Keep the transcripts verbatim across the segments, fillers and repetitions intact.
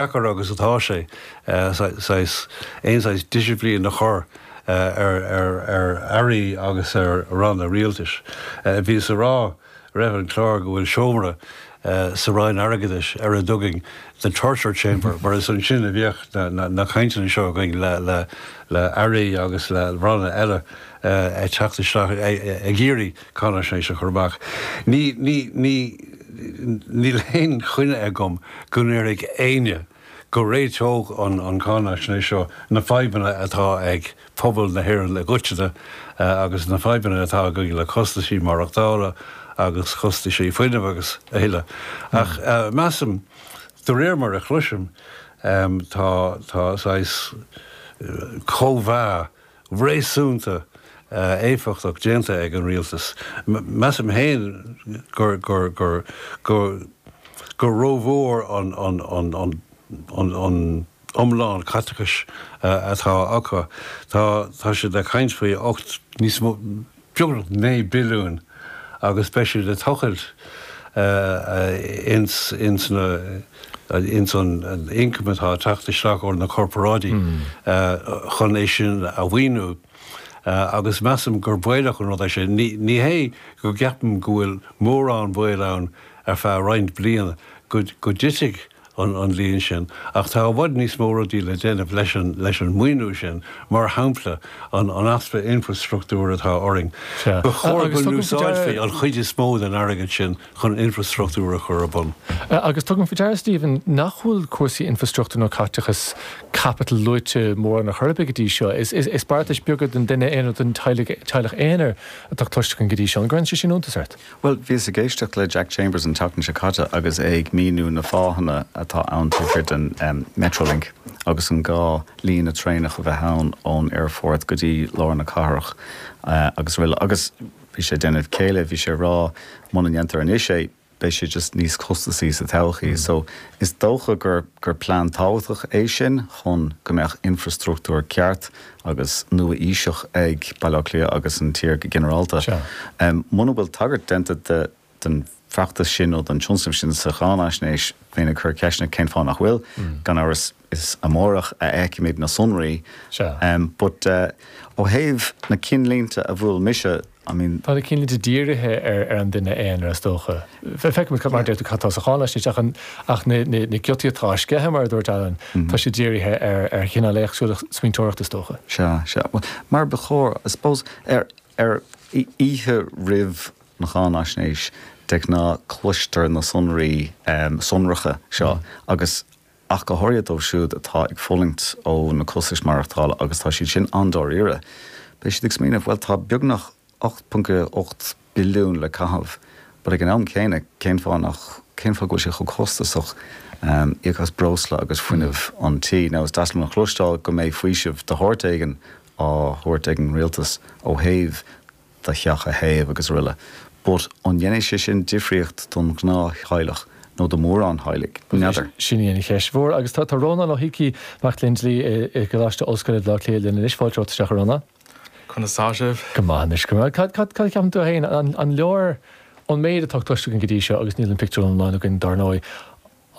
deacair agus atá sé saghas aon saghas disciplín a chur ar ar ar airí agus ar ranna rialtais. Bhíos ag rá roimh an chlár go bhfuil seomra sa Roinn Airgeadais ar a dtugann the torture chamber, mar is ansin a bhíodh na na cainteanna seo againn le le le airí agus le ranna eile ag teacht isteach ag iarraidh cáinaisnéis a chur amach. Ní ní ní níl aon choinne agam go ndéarfadh éinne go réiteodh an an cháinaisnéis seo na fadhbanna atá ag pobal na hÉireann i gcoitinne agus na fadhbanna atá againn le costaisí maireachtála agus costaisí fuinnimh agus a thuilleadh. Ach measaim, de réir mar a chloisim, tá tá saghas cóimheá réasúnta éifeachtach déanta ag an rialtas. Measaim féin gur gur gur gur gur rómhór an an an an an an iomlán caiteachais atá acu. Tá tá siad ag caint faoi ocht níos mó beagnach naoi billiún agus beidh siad ag tochailt ins ins na ins an ioncam atá ag teacht isteach ó na corparáidí chun é sin a mhaoiniú. Agus measaim gur baolach an rud é sin. Ní ní hé go gceapaim go bhfuil mórán baol ann ar feadh roinnt bliana go go dtitfidh an an líon sin, ach tá i bhfad níos mó rudaí le déanamh leis an leis an maoiniú sin, mar shampla an an easpa infreastruchtúir atá orainn. Ba chóir go n-úsáidfí an chuid is mó den airgead sin chun infreastruchtúr a chur ar bun. Agus tugaim faoi deara, Stephen, nach bhfuil cúrsaí infreastruchtúir nó caiteachas caipitil luaite mórán ar chor ar bith go dtí seo. Is is is beartais beaga don duine aonair, don teaghlach teaghlach aonair atá cloiste againn go dtí seo. An gcuireann sé sin iontas ort? Bhuel, bhíos ag éisteacht le Jack Chambers an tseachtain seo caite agus é ag míniú na fáthanna atá ann taobh thiar den um, Metrolink agus an gá líne traenach a bheith ann ón aerfort go dtí lár na cathrach uh, agus araile. Agus bhí sé déanamh céille, bhí sé rá muna ndéantar anois é, beidh sé just níos costasaí sa todhchaí. Mm. So is dócha gur gur plean tábhachtach é sin chun go mbeadh infrastruchtúr ceart agus nua-aoiseach ag Baile Átha Cliath agus an tír go ginearálta. Um, Muna bhfuil tagairt déanta de den feachtas sin nó den tionscnamh sin sa cháinaisnéis bheinn ag cur ceisteanna cén fáth nach bhfuil, mm. gan amhras is amárach a fheicfimid na sonraí. Um, but uh, ó thaobh na cinnlínte a bhfuil mise I mean, Tá na cinnlínte dírithe ar ar an duine aonair is dócha. Feicimid cad mar deir tú cad tá sa cháinaisnéis ach an ach na na na giotaí atá sceitheadh mar a dúirt Alan, mm -hmm. tá sé dírithe ar ar chineál éagsúla smaointeoireachta is dócha. Sea, sea. Well, mar ba chóir, I suppose ar ar oíche roimh na cháinaisnéis de ghnáth cloistear na sonraí um, sonracha seo mm. agus ach go háirithe dóibh siúd atá ag fulaingt ó na costais maireachtála agus tá siad sin an-dáiríre. Beidh siad ag smaoineamh well tá beagnach ocht ponc ocht billiún le caitheamh, but ag an am céanna cén fáth nach cén fáth go bhfuil sé chomh costasach um, íoc as breosla agus fuinneamh an tí. Now is deas liom a chloisteáil go mbeidh faoiseamh de shórt éigin á thabhairt ag an rialtas ó thaobh do theach a théamh agus araile. But an ndéanfaidh sé sin difríocht don ghnáth-theaghlach nó do mhórán teaghlaigh? N'fheadar. Sin í an cheist mhór agus tá tá Rónán Ó hIcí mac léinn dlí i gColáiste Ollscoile Bhaile Átha Cliath linn anois fáilte romhat isteach a Rónán. Conas tá sibh? Go maith anois go maith. Cad cad cad ceapann tú féin an an leor an méid atá cloiste againn go dtí seo agus níl an pictiúr iomlán againn dar ndóigh.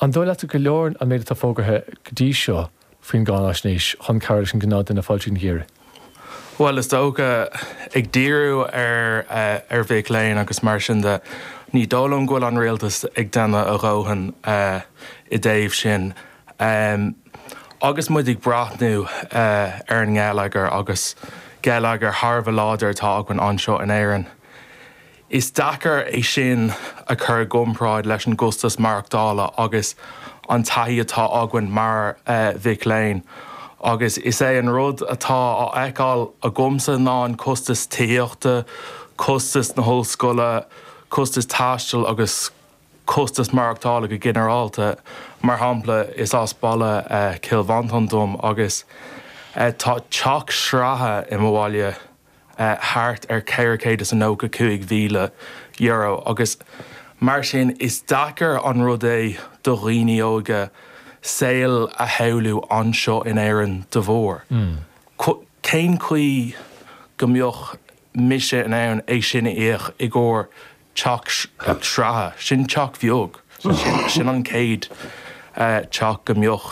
An dóigh leat go leor an méid atá fógartha go dtí seo faoin gcáinaisnéis chun cabhrú leis an gnáthdhuine fáil tríd an gheimhreadh? Well is dócha ag díriú ar uh, ar mhic léinn agus mar sin de ní dóigh liom go bhfuil an rialtas ag déanamh a dhóthain uh, i dtaobh sin. Um, agus muid ag breathnú uh, ar an ngeilleagar agus geilleagar thar a bheith láidir atá againn anseo in Éirinn. Is deacair é sin a chur i gcomparáid leis an gcostas maireachtála agus an taithí atá againn mar uh, mhic léinn. Agus is é an rud atá á fheiceáil agamsa ná an costas tithíochta, costas na hollscoile, costas taistil agus costas maireachtála go ginearálta. Mar shampla is as baile uh, Cill Mhantáin dom agus uh, tá teach sraithe i mo bhaile uh, thart ar ceithre chéad is a nócha cúig mhíle euro agus mar sin is deacair an rud é do dhaoine óga saol a shamhlú anseo in Éirinn de bharr. Mm. Cén chaoi go mbeadh mise in ann é sin a íoc i gcomhair teach sraithe, sin teach beag, sin an chéad teach go mbeadh